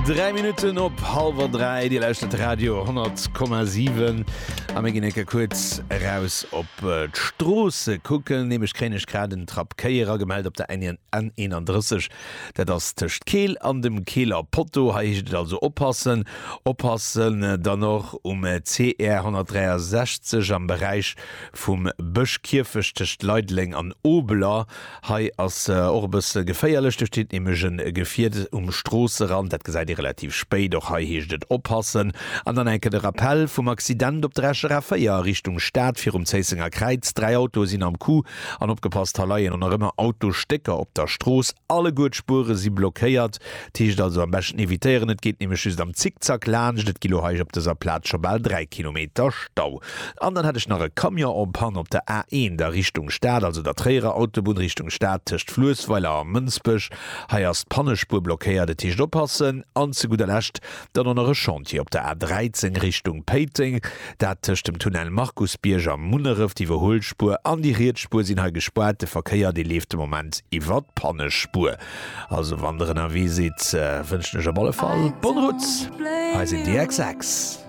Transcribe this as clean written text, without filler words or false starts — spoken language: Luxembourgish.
3 Minutten op hallwer 3, Dir lauschtert de Radio 100,7 a mir ginn eng Kéier kuerz eraus op d'Stroosse kucken. Nämlech kréien ech grad en Trapp Kéi eragemellt op der N31, dat ass tëscht Keel an dem Keeler Potto. Hei heescht et also oppassen, oppassen dann och um CR 163 am Beräich vum Bëschkierfecht tëscht Leideleng an Obeler. Hei ass och e bësse geféierlech, do steet nämlech e Gefier um Stroosserand, dat gesäit ee relativ spéit. Och hei heescht et oppassen. An dann enke de Rappell vum Accident op der Escher A4 a Richtung Stad virum Zéissenger Kräiz. 3 Autoe sinn am Coup an opgepasst, hei leien och nach ëmmer Autostécker op der Strooss. Alleguer d'Spuere si blockéiert. Et heescht also am beschten evitéieren, et geet nämlech just am Zickzack laanscht. Et gi lo hei op dëser Plaz scho bal 3 Kilometer Stau. An dann hätt ech nach e Camion en panne op der A1 a Richtung Stad, also der Tréierer Autobunn Richtung Stad tëscht Fluessweiler a Mënsbech. Hei ass d'Pannespuer blockéiert, et heescht oppassen. An zu gudder Lescht dann och nach e Chantier op der A13 Richtung Péiteng, dat tëscht dem Tunnel Markusbierg a Munneref. D'Iwwerhuelspuer an déi riets Spuer sinn hei gespaart, de Verkéier dee leeft de Moment iwwer d'Pannespuer. Also wann der ënnerwee sidd, wënschen ech op alle Fall bonne route. Hei sinn The XX.